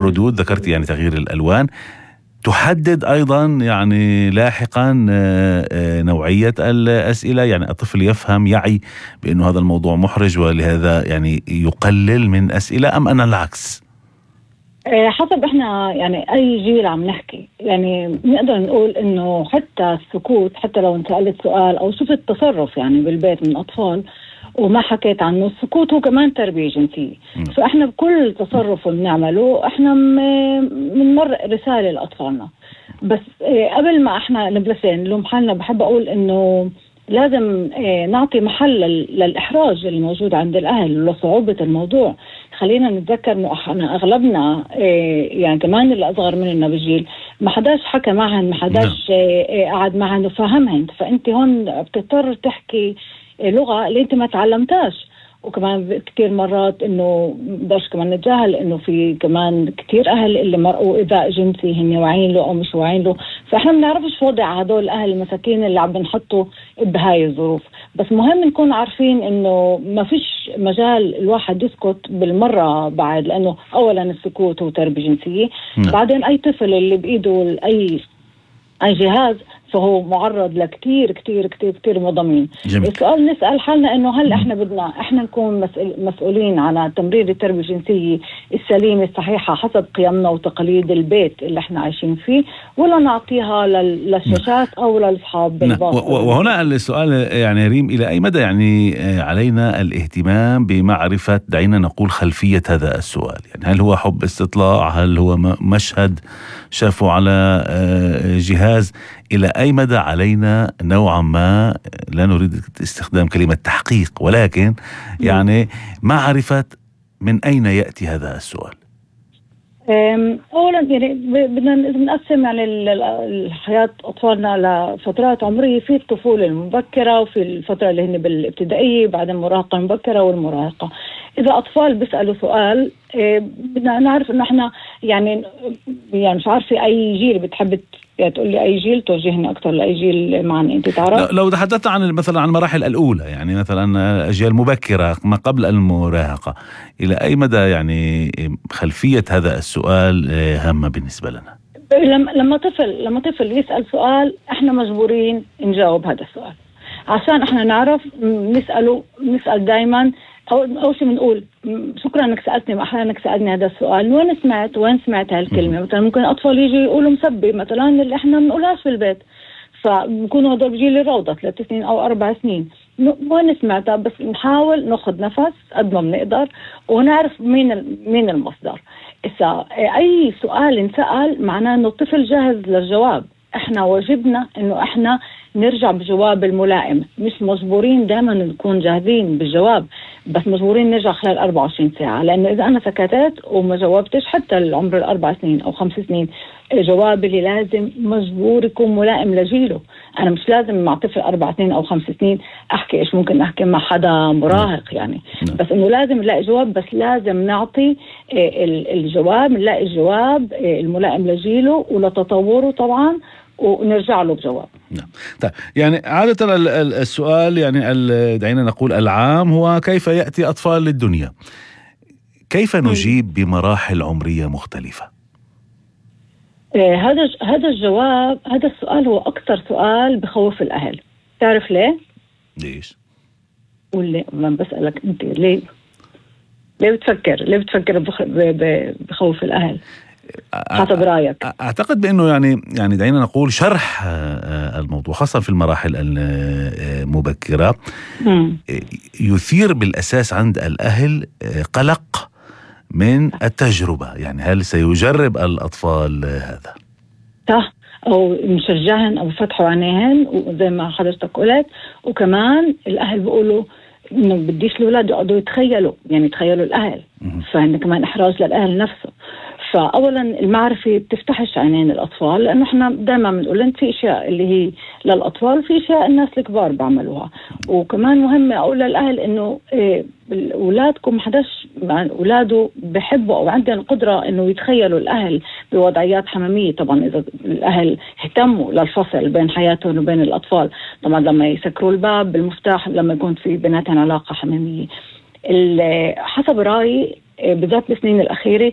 ردود، ذكرت يعني تغيير الألوان، تحدد أيضا يعني لاحقا نوعية الأسئلة، يعني الطفل يفهم يعي بأنه هذا الموضوع محرج ولهذا يعني يقلل من أسئلة، أم أنا العكس؟ حسب احنا يعني اي جيل عم نحكي. يعني نقدر نقول انه حتى السكوت، حتى لو انت سألت سؤال او شفت تصرف يعني بالبيت من اطفال وما حكيت عنه، السكوت هو كمان تربية جنسية. فاحنا بكل تصرف بنعمله احنا بنمرق رسالة لأطفالنا. بس قبل ما احنا نبلش نلوم حالنا، بحب اقول انه لازم نعطي محل للإحراج اللي موجود عند الأهل ولصعوبة الموضوع. خلينا نتذكر انه احنا اغلبنا يعني كمان اللي اصغر مننا بالجيل ما حداش حكى معهن، ما حداش قعد معهن وفهمهن. فانت هون بتضطر تحكي لغة اللي انت ما تعلمتاش. وكمان كتير مرات انه بداش كمان نتجاهل انه في كمان كتير اهل اللي مرقوا ايذاء جنسي هن واعيين له او مش واعيين له. فاحنا ما بنعرفش وضع هدول الاهل المساكين اللي عم بنحطوا بهاي الظروف. بس مهم نكون عارفين انه ما فيش مجال الواحد يسكت بالمرة بعد، لانه اولا السكوت هو تربية جنسية. بعدين اي طفل اللي بايده اي جهاز فهو معرض لكتير كتير كتير كتير مضامين. السؤال نسأل حالنا انه هل احنا بدنا احنا نكون مسؤولين على تمرير التربية الجنسية السليمة الصحيحة حسب قيمنا وتقاليد البيت اللي احنا عايشين فيه، ولا نعطيها للشاشات او للأصحاب بالباطل؟ وهنا السؤال يعني ريم، الى اي مدى يعني علينا الاهتمام بمعرفة، دعينا نقول، خلفية هذا السؤال؟ يعني هل هو حب استطلاع؟ هل هو مشهد شافوا على جهاز؟ إلى أي مدى علينا نوعا ما، لا نريد استخدام كلمة تحقيق، ولكن يعني معرفة من أين يأتي هذا السؤال؟ أولا يعني بدنا نقسم يعني الحياة أطفالنا لفترات عمرية، في الطفولة المبكرة وفي الفترة اللي هن بالابتدائية، بعد المراهقة المبكرة والمراهقة. إذا أطفال بيسألوا سؤال بدنا نعرف إنه إحنا يعني مش عارفة أي جيل بتحب تقول لي أي جيل توجهني أكتر لأي جيل معني أنت تعرف؟ لو تحدثت عن مثلا عن المراحل الأولى، يعني مثلا أجيال مبكرة ما قبل المراهقة، إلى أي مدى يعني خلفية هذا السؤال هامة بالنسبة لنا؟ لما طفل يسأل سؤال احنا مجبورين نجاوب هذا السؤال عشان احنا نعرف نسأل دايما. أول شيء بنقول شكرا انك سألتني، احيانا انك سألني هذا السؤال، وين سمعت هالكلمة؟ مثلا ممكن اطفال يجي يقولوا مسبي مثلا اللي احنا بنقولهاش في البيت، فبكونوا هدول بجيل الروضة 3 سنين او 4 سنين، وين سمعتها؟ بس نحاول ناخذ نفس قد ما بنقدر ونعرف مين المصدر. إذا أي سؤال انسأل معناه إنه الطفل جاهز للجواب. إحنا واجبنا إنه إحنا نرجع بجواب الملائم، مش مجبورين دائما نكون جاهزين بالجواب، بس مجبورين نرجع خلال 24 ساعة. لأنه إذا أنا سكتت وما جاوبتش حتى العمر 4 سنين أو 5 سنين، الجواب اللي لازم مجبور يكون ملائم لجيله. أنا مش لازم مع طفل 4 سنين أو 5 سنين أحكي إيش ممكن أحكي مع حدا مراهق يعني. بس إنه لازم نلاقي جواب، بس لازم نعطي الجواب، نلاقي الجواب الملائم لجيله ولتطوره طبعا، ونرجع له بجواب. طيب يعني عادة السؤال يعني دعينا نقول العام هو كيف يأتي أطفال للدنيا؟ كيف نجيب بمراحل عمرية مختلفة؟ هذا الجواب، هذا السؤال هو أكثر سؤال بخوف الأهل. تعرف ليه؟ ليش؟ قول ما بسألك أنت ليه بتفكر بخوف الأهل حسب رأيك؟ أعتقد بأنه يعني دعينا نقول شرح الموضوع خاصة في المراحل المبكرة يثير بالأساس عند الأهل قلق من التجربة. يعني هل سيجرب الأطفال هذا؟ صح، أو نشجعهن أو فتحوا عينيهن وزي ما حضرتك قلت. وكمان الأهل بيقولوا إنه بديش الأولاد يقعدوا يتخيلوا الأهل، فإنه كمان إحراج للأهل نفسه. فأولا المعرفة بتفتحش عينين الأطفال، لأنه إحنا دائما بنقول إن في أشياء اللي هي للأطفال، في أشياء الناس الكبار بعملوها. وكمان مهم أقول للأهل إنه أولادكم حداش أولاده بحبوا أو عندهم القدرة إنه يتخيلوا الأهل بوضعيات حميمية. طبعا إذا الأهل اهتموا للفصل بين حياتهم وبين الأطفال، طبعا لما يسكروا الباب بالمفتاح لما يكون في بيناتهم علاقة حميمية. حسب رأيي بالذات بالسنين الأخيرة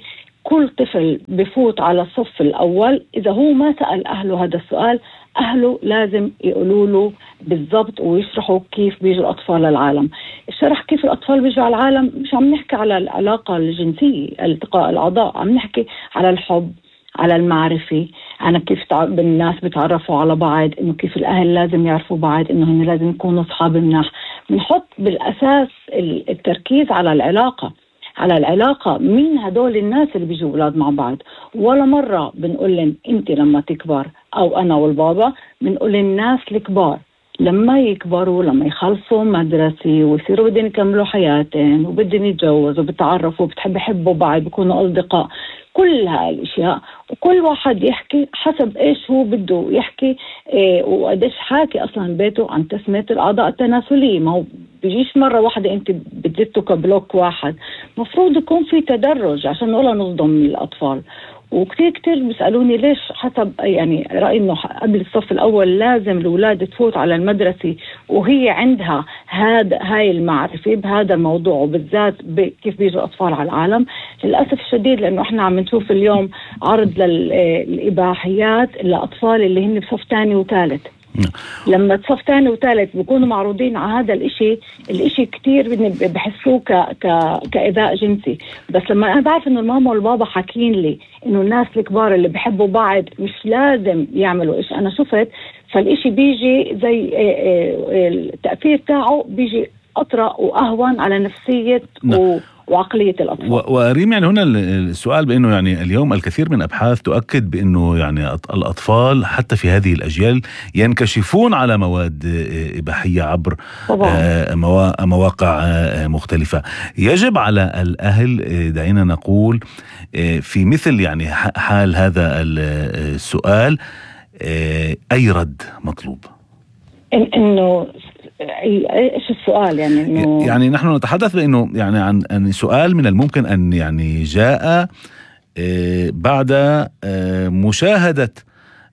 كل طفل بفوت على الصف الأول إذا هو ما سأل أهله هذا السؤال، أهله لازم يقولوا له بالضبط ويشرحوا كيف بيجوا الأطفال للعالم. الشرح كيف الأطفال بيجوا على العالم مش عم نحكي على العلاقة الجنسية التقاء الأعضاء، عم نحكي على الحب، على المعرفة، أنا كيف الناس بتعرفوا على بعض، إنه كيف الأهل لازم يعرفوا بعض، إنه هن لازم يكونوا أصحاب مناح. بنحط بالأساس التركيز على العلاقة، على العلاقة، مين هدول الناس اللي بيجوا أولاد مع بعض. ولا مرة بنقول لهم أنت لما تكبر، أو أنا والبابا بنقول للناس الكبار لما يكبروا، لما يخلصوا مدرسة ويصيروا بدهم يكملوا حياتهم وبدهم يتجوزوا وبتعرفوا وبيحبوا بعض بيكونوا أصدقاء، كل هاي الاشياء، وكل واحد يحكي حسب ايش هو بده يحكي، وقديش حاكي اصلا بيته عن تسمية الاعضاء التناسلية. ما هو بيجيش مرة واحدة انت بتزته كبلوك واحد، مفروض يكون في تدرج عشان ولا نصدم الأطفال. وكتير بيسألوني ليش حسب يعني رأيي انه قبل الصف الاول لازم الاولاد تفوت على المدرسة وهي عندها هاي المعرفة بهذا الموضوع، وبالذات كيف بيجوا الاطفال على العالم. للأسف الشديد لانه احنا عم نشوف اليوم عرض للإباحيات للأطفال اللي هن بصف ثاني وثالث. لما صف ثاني وثالث بيكونوا معروضين على هذا الاشي كتير بحسوه كإيذاء جنسي. بس لما انا بعرف انه الماما والبابا حاكين لي انه الناس الكبار اللي بحبوا بعض مش لازم يعملوا ايش انا شفت، فالاشي بيجي زي التأثير تاعه بيجي أطرأ وأهون على نفسية وعقلية الأطفال. وريم يعني هنا السؤال بأنه يعني اليوم الكثير من أبحاث تؤكد بأنه يعني الأطفال حتى في هذه الأجيال ينكشفون على مواد إباحية عبر مواقع مختلفة. يجب على الأهل دعينا نقول في مثل يعني حال هذا السؤال أي رد مطلوب؟ إنه ايش السؤال يعني انه يعني نحن نتحدث بانه يعني عن سؤال من الممكن ان يعني جاء بعد مشاهدة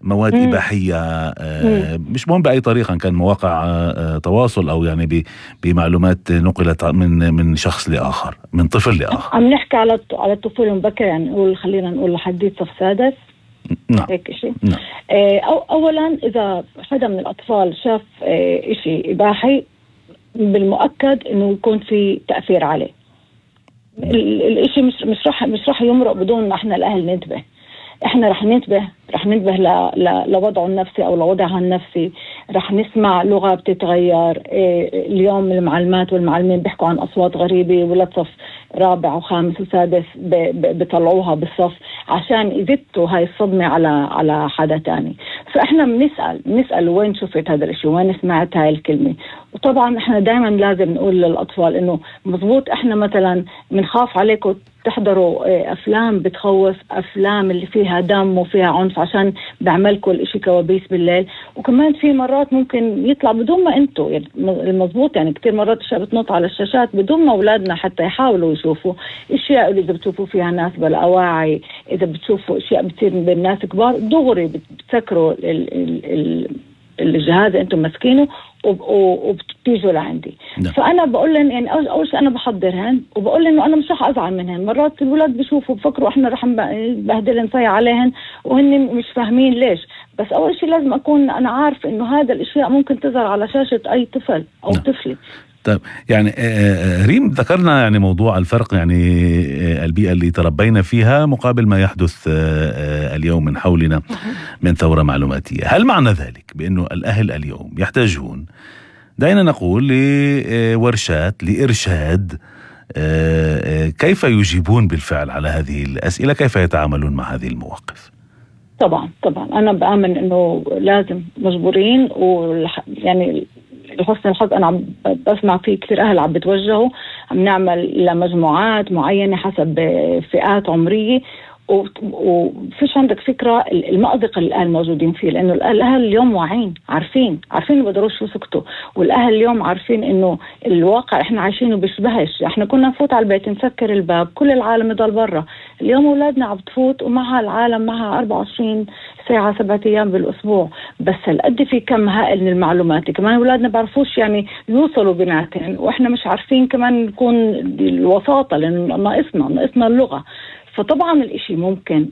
مواد إباحية مش مهم بأي طريقة، كان مواقع تواصل أو يعني بمعلومات نقلت من شخص لآخر، من طفل لآخر. عم نحكي على الطفل المبكر، يعني خلينا نقول لحديث صف سادس. نعم. هيك شيء. نعم. أولا إذا حدا من الأطفال شاف إشي إباحي بالمؤكد إنه يكون في تأثير عليه. الإشي مش راح يمرق بدون ما إحنا الأهل ننتبه. إحنا رح ننتبه لوضعه النفسي أو لوضعها النفسي. رح نسمع لغة بتتغير. اليوم المعلمات والمعلمين بيحكوا عن أصوات غريبة، ولا صف رابع وخامس وسادس بيطلعوها بالصف عشان يزتوا هاي الصدمة على حدا تاني. فإحنا بنسأل وين شفت هذا الشيء، وين سمعت هاي الكلمة. وطبعا إحنا دائما لازم نقول للأطفال إنه مضبوط إحنا مثلا بنخاف عليكم تحضروا أفلام بتخوف، أفلام اللي فيها دم وفيها عنف عشان بعملكم الاشي كوابيس بالليل. وكمان في مرات ممكن يطلع بدون ما انتوا يعني المضبوط، يعني كتير مرات اشياء بتنط على الشاشات بدون ما اولادنا حتى يحاولوا يشوفوا اشياء اللي اذا بتشوفوا فيها ناس بلا أواعي، اذا بتشوفوا اشياء بتصير بين ناس كبار دغري بتسكروا الجهاز انتم ماسكينه وبتيجوا لعندي. فانا بقول لهم يعني اول شيء انا بحضرهن وبقول لهم انه انا مش رح ازعل منهن. مرات الولاد بيشوفوا بفكروا احنا رح نبهدلن نصيح عليهن وهن مش فاهمين ليش. بس اول شيء لازم اكون انا عارف انه هذا الاشياء ممكن تظهر على شاشة اي طفل او طفلة. طيب يعني ريم ذكرنا يعني موضوع الفرق يعني البيئة اللي تربينا فيها مقابل ما يحدث اليوم من حولنا من ثورة معلوماتية. هل معنى ذلك بأنه الأهل اليوم يحتاجون دعينا نقول لورشات لإرشاد كيف يجيبون بالفعل على هذه الأسئلة، كيف يتعاملون مع هذه المواقف؟ طبعا أنا بآمن أنه لازم مجبورين، ويعني لحسن الحظ أنا عم بسمع فيه كثير أهل عم بتوجهوا، عم نعمل لمجموعات معينة حسب فئات عمرية. وفيش عندك فكرة المأزق اللي الأهل موجودين فيه، لأنه الأهل اليوم واعين عارفين ما بقدروش يسكتوا، والأهل اليوم عارفين إنه الواقع إحنا عايشينه بيشبهش. إحنا كنا نفوت على البيت نسكر الباب كل العالم يضل برا، اليوم أولادنا عم تفوت ومعها العالم معها 24 ساعة 7 أيام بالأسبوع. بس هالقد في كم هائل من المعلومات، كمان أولادنا بعرفوش يعني يوصلوا بيناتهم، وإحنا مش عارفين كمان نكون الوساطة لأنه ناقصنا اللغة. فطبعا الإشي ممكن